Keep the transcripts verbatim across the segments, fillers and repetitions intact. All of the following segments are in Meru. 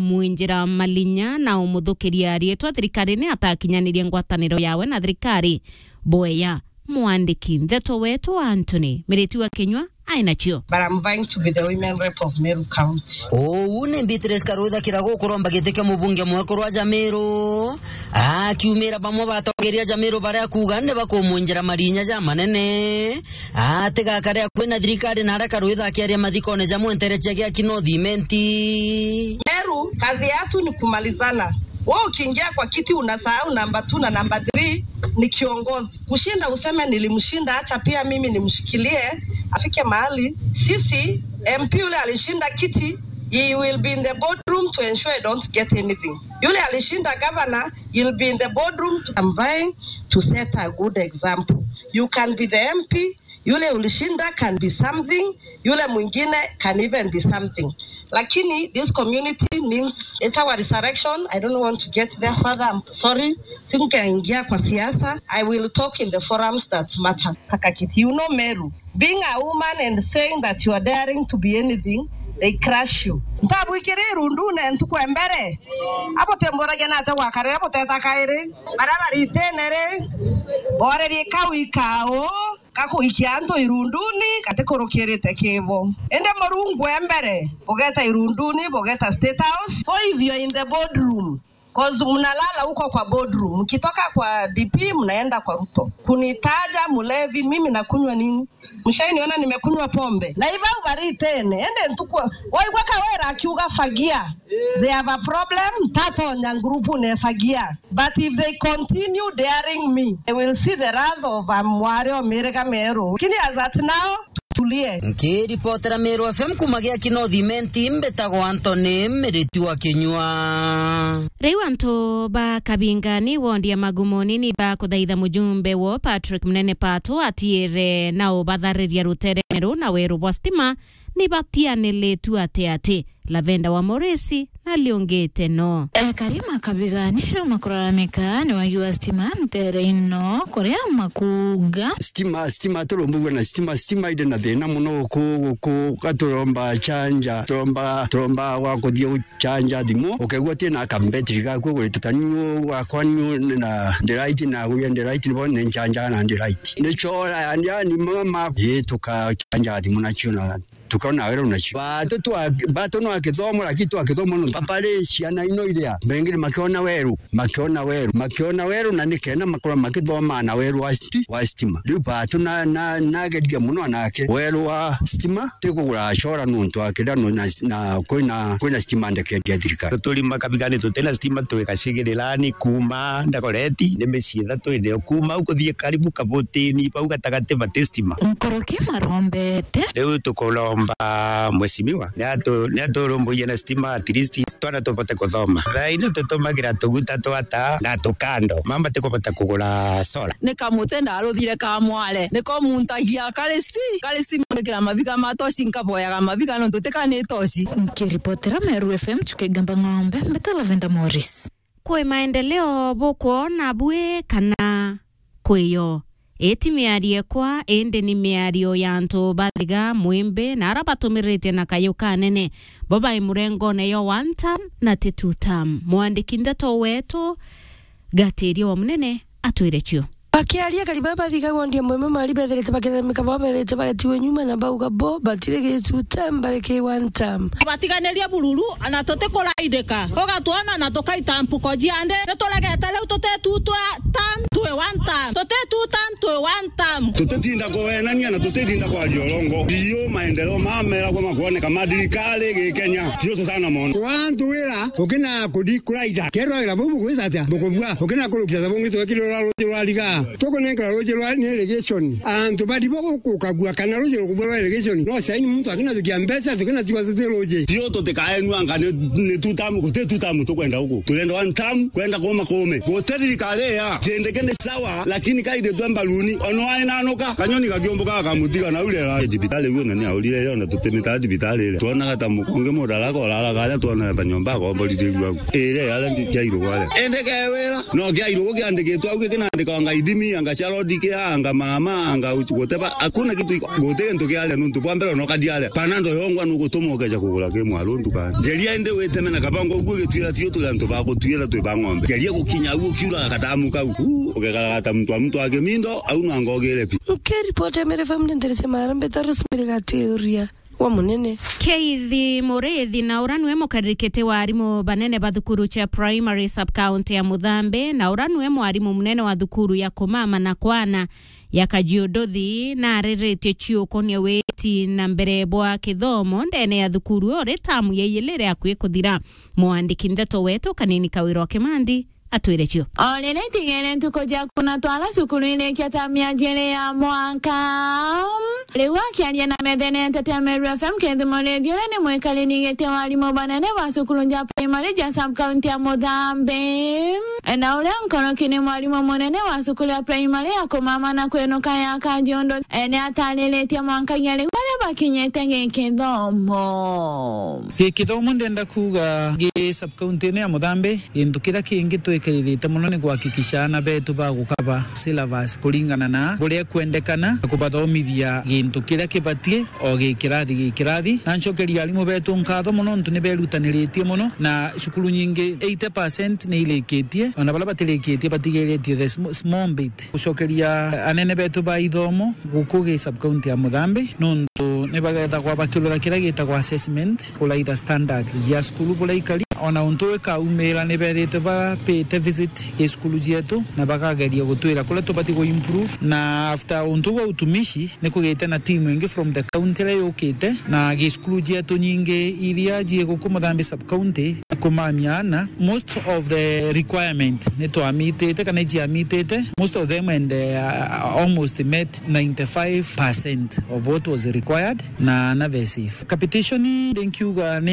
kumwinjira malinya na umuthukiria riitwa thirikarine atakinyanirie ngwataniro yawe na thirikari. Bweya, mwandiki ndeto wetu Anthony Miriti wa Kinyua ainacio. But I'm vying to be the women rep of Meru County. Uu ni Beatrice Karwitha Kiragu kuromba giti kia mubunge mwekuru wa Jamiru. Akiumira bamwe batongeria Jamiru baria kuuga ni bakumwinjira marinya ja manene. Atigakare akui na thirikari na aria Karwitha akiaria mathikone ja mwenterecia gia Kinoo Thimenti. Meru, kazi yatu ni kumalizana. Wewe ukiingia kwa kiti unasahau namba two na namba three ni kiongozi. Kushinda useme nilimshinda, acha pia mimi nimshikilie, afike mahali. Sisi, M P yule alishinda kiti, he will be in the boardroom to ensure I don't get anything. Yule alishinda governor, he'll be in the boardroom to, I'm vying to set a good example. You can be the M P, yule ulishinda can be something, yule mwingine can even be something. Lakini this community means it's our resurrection. I don't want to get there further. I'm sorry. Sikukaingia kwa siasa. I will talk in the forums that matter. Takakiti, you know Meru. Being a woman and saying that you are daring to be anything, they crush you. Ntabwikire irundune ntuku ya mbere. Abo temburagia nate gwakarire abo teta kairi. Bara baritene ri. Borerie kau ikao. Gakuikia antu irunduni gatikurukirite kibo. Indi Murungu e mbere, bugeta irunduni, bugeta State House. So if you are in the boardroom, 'cause mnalala huko kwa boardroom, mkitoka kwa D P mnaenda kwa Ruto. Kunitaja mlevi, mimi nakunywa nini? Mshainiona nimekunywa pombe? Na iba ubaritene, ende ntukwa, waigua Kawira akiuga fagia. They have a problem, tatonya ngurubu ne fagia. But if they continue daring me, they will see the wrath of a mwari o miriga meru. Lakini as at now, tutulie. Nkiripotera Meru F M kuma gia Kinoo Thimenti, mbitagwa Anthony Miriti wa Kinyua. Riu antu ba Kabingani wondi ya Magumoni ni bakuthaitha mujumbe wo Patrick Munene Pato atiire na ubathariria ruterene ru na weru bwa stima ni batianilitu ati ati. Lavenda wa Morisi na liungite no. Ekari ma Kabigani riu makuraramika ni wagi wa stima ntere ino, kuria makuuga. Stima, stima, turumbugua na stima, stima iri na thina muno guku, guku, gaturomba chanja, turomba, turomba gwa kuthii guchanja thimu, ukaigua utina kambetiri gaku ugurite ta niu gwakwa niu na ndiraiti, na guria ndiraiti, nibo ni nchanja na ndiraiti. Ni chora, yani, yani, mama, ii, tukachanja thimu nacio na tukaona weru nacio. Batu twa-, batu no akithomo, lakini twa kithomo no papare ciana ino iria. Bengine makiona weru, makiona weru, makiona weru, na nikenda makorwa makithoma na weru wa sti-, wa stima. Riu batu na, na, nageria muno anake. Weru wa stima, tikugura cora nuntu akira no na, na kwina, kwina stima ndeke ya thirikari. Turi Makabigani tutina stima, twi Gacigirirani, kuma Ndagoreti, ni micii ithatu ine. Kuma au kuthii karibu Kabutini, bau gatagati bati stima. Nkoroki marombete. Riu tukuromba mheshimiwa, ni atu-, ni aturumburie na stima, at least twana tubote kuthoma. Thaa ino tutumagira tuguta twa taa na tukando. Mama tikubota kugura solar. Ni kamuti ndaruthire ka mware. Niko muntagia kari sti, kari sti mwikira mabiga ma toci, nkaboyaga mabiga nontu tika ni toci. Nkiripotera Meru F M, Chukegamba Ng'ombe, mbeta Lavenda Morris. Kwi maendeleo bukwona bwi kana kwiyo? Iti miario ekwa, indi ni miario ya antu bathiga mwimbi na ara batumirite na kayu kanene. Bo bai murengone yo one term na ti two term. Mwandiki ndeto wetu Gatiria wa Munene atwire cio. Bakiaria, kari baba bathiga wondi ya Mweme Mari bethirite bakiraramika, bo bethirite bagetiwe nyuma na bauga bo batiri gi two term, bari ki one term. Batiganirie bururu, ana tutikuraidika. Ugatwona na tukaita mpuko ciandi. Nituregete riu tuti two term, twi one term. Tuti two term, twi one term. Tutitinda kuenania na tutitinda kwaria urongo. Iyo maendeleo mameragwa makwoneka ma thirikari gi Kenya, tio tutanamona. Kwa antu wira, ukina kudi kuraitha. Kerwa wira bau bugwita atia? Bukubua. Ukina kurukia thabungi twekirira ruji rwa riga. Tukunenkera ruji rwa ni irrigation. Antu bari bo gukagua kana ruji rukubua rwa irrigation. No saini muntu akina tukia mbeca, tukina tigwa tuti ruji. Tio tutikaenua anga ni, ni two term, guti two term tukwenda guku. Turenda one term, kwenda kuma kume. Guti thirikari ya. Tindike ni sawa, lakini kaithitwe mbaruni. Ono ainanuka, kanyoni gakiumbuka gakamutiga na urera. Thibitari iyo na ni aurire yo na tutimita thibitari ire. Twonaga ta mukonge mudara korara karia twonaga ta nyomba akomborithirua. Ire yaria ndi kia irugu aria. Ende ke wira, no kia irugu kiandikitwe au gikinandika o Ngai. Mi anga cia road kia, anga mama, anga uchu, whatever. Hakuna kitu iko, guti gintu kiaria nuntu bwa mbere no kadiaria. Panado yongwa nugutuma ukeja kugura ki mwaru ndukani. Geria indi witeme na kabango ugu gitwira tio turi antu ba gutwira twi ba ng'ombe. Geria gukinya au ukiura katamu kau. Uu, ugekaragata muntu wa muntu wa kimindo, au no anga ugire pi. Nkiripoti ya Meru F M ni nderece mara mbeta Rosemary Gatiuria. Wa munene. Keith Muriithi, na ura niwe mukaririkiti wa arimu banene ba thukuru cia primary sub-county ya Muthambi, na ura niwe mwarimu munene wa thukuru ya Kumama na Kwana ya Kajiunduthi, na ariritie ciukonia witi na mbere bwa kithomo ndene ya thukuru uri tamu ya ijiri iri akui kuthira. Mwandiki ndeto wetu Kanini Kawira wa Kimandi atwire cio. O riria itigere ntuku cia kuna twara cukuru irikia ta miajiri ya mwaka. Riu akiaria na methenete tia Meru F M, Keith Muriithi uria ni mwikariri giti wa arimu banene ba cukuru ja primary ja sub-county ya Muthambi, na uria nkoroki ni mwarimu munene wa cukuru ya primary ya Kumama na Kwinuka ya Kajiunduthi, ni atariritie mwanka ya riu baria bakinyite gikithomo. Gikithomo ndenda kuuga gi sub-county ino ya Muthambi, gintu kiria kingi twikiririte mono ni kuhakikisha aana betu bagukaba syllabus kuringana na buria ikwendekana, na kubathomithia gintu kiria kibatie o gi kirathi gi kirathi. Na ncokeria arimu betu nkatho mono nontu ni berutaniritie mono, na cukuru nyingi eighty percent ni irikitie, ona baria batirikitie batigiritie the sm-, small bit. Gucokeria anene betu ba ithomo guku gi sub-county ya Muthambi, nontu ni bagethagwa bakirora kiria gitagwa assessment, kuraitha standards cia cukuru buria ikari. Ona untu wi kaumira ni bethite bapite visit gi cukuru cietu, na bakageria gutwira kuria tubati ku improve. Na after untu bwa utumishi, ni kugite na team ingi from the county iria yukite, na gi cukuru cietu nyingi iria cie guku Muthambi sub-county, kumamia ana, most of the requirement ni twamitite kana iciamitite, most of them and, uh, almost met ninety-five percent of what was required, na ana be safe. Capitation ndi nkiuga ni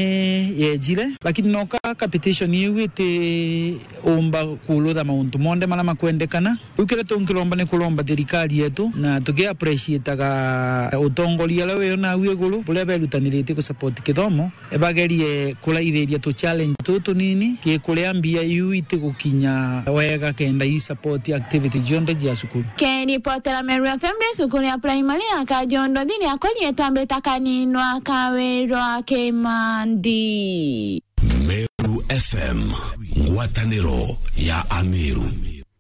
yejire, lakini no ka capitation iu iti umba kurutha mauntu monthe maria makwendekana. Riu kiria tunkiromba ni kuromba thirikari yetu, na tuki appreciataga utongoria uria wi nau iguru, buria berutaniritie ku support kithomo, bagerie kuraithiria tu challenge tutu tunini, ki kuria mbia iu itigukinya wega, kenda i support activity cionthe cia cukuru. Kiripotera Meru F M, ri cukuru ya primary ya Kajiunduthi, ria korietwa mbita Kaninwa Kawirwa Kimandi. Meru F M, ngwataniro ya Ameru.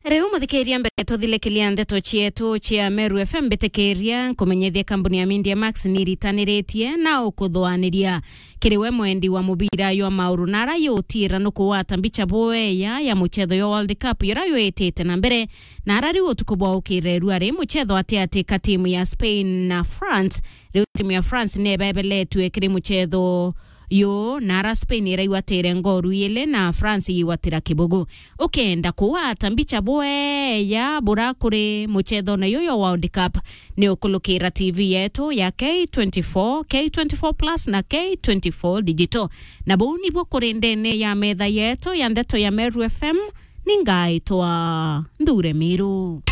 Riu muthikiria, mbere tuthirikiria ndeto cietu cia Meru F M, mbitikiria nkumenyithie kambuni ya Media Max ni iritaniritie na ukuthuaniria kiri we mwendi wa mubira jwa mauru, na ara yutiira nukugwata mbicha bweya ya muchetho jwa World Cup jura jwitite na mbere, na ara riu utuku bwa ukirerua ri muchetho atiati ka timu ya Spain na France. Riu timu ya France ni ibebeletue kiri muchetho yu, na ara Spain iraigwatire ngoru ijiri na France igwatira kibugu. Ukenda kugwata mbicha bweya bura kuri muchethone yu jwa World Cup, ni ukulukira T V yetu ya K twenty-four, K twenty-four plus na K twenty-four Digital. Na buu nibuo kuri ndene ya metha yetu ya ndeto ya Meru F M, ni ngaitwa Nthure Miru.